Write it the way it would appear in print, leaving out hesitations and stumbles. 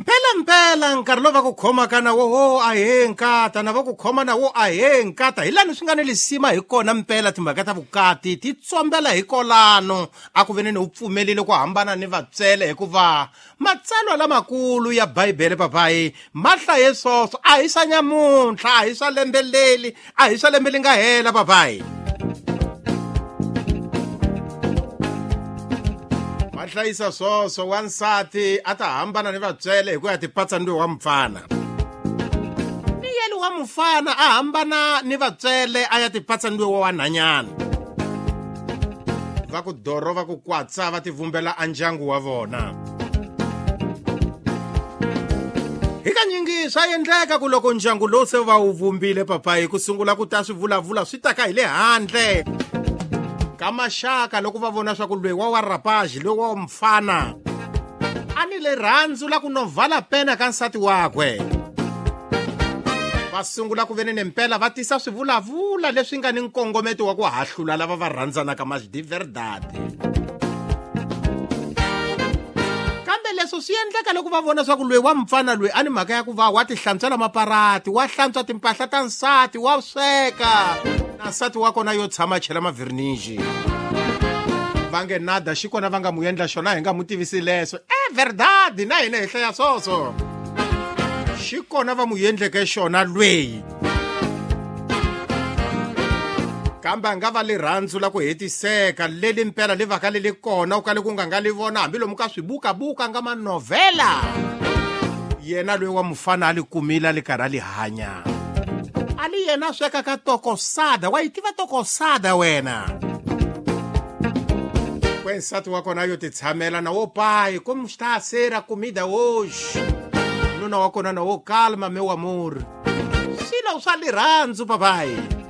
Mpela mpela nkarhi lowu va ku khomaka na wo ho ahee nkata na va ku khoma na wo ahee nkata hi lani swi nga ni lisima hi kona mpela timhaka ta vukati ti tsombela hi kolano a ku veneni u pfumelile ku hambana ni vatswele hikuva matsalwa lamakulu ya bibele papayi ma hlaye swoswo a hi swa nyamuntlha a hi swa lembe leli a hi swa lembe li nga hela papayi va hlayisa swoswo wansati a ta hambana ni vatswele hi ku ya tipatsa ni wa mufana ni yeli wa mufana a hambana ni vatswele a ya tipatsa ni wa wanhanyana va ku doro va ku kwatsa va tivumbela a ndyangu wa vona hi kanyingi swa endleka ku loko ndyangu lowu se va wu vumbile papayi ku sungula ku ta swivulavula swi taka hi le handle ka maxaka loko va vona swa ku loyi wa wa rapaji loyi wa mfana a ni le rhandzu la ku novala pena ka nsati wakwe va sungula ku veni nempela va tisa swivulavula leswi nga ni nkongometo wa ku hahlula lava va rhandzanaka mas de verdade kambe leswo swi endleka loko va vona swa ku loyi wa mfana loyi a ni mhaka ya ku va wa tihlantswela maparati wa hlantswa timpahla ta nsati wa sweka na nsati wa kona yo tshama chela mavhirnixi va nge nada xi kona va nga mu endla xona hi nga mu tivisi leswo e verdade na hina hi hlaya swoswo xi kona va mu endleke xona lweyi kambe a nga va lirhandzu la ku hetiseka leli mpela li vaka li li kona u kale ku nga nga li vona hambilomu ka swibukabuka nga manovhela yena loyi wa mufana a li kumile a li karhi a li hanya a li yena a sweka ka tokosada wa yi tiva tokosada wena kwe nsati wa kona yo titshamela na wo pai como está a ser a comida hoje nuna wa kona na wo calma meu amor swilo swa lirhandzu papai.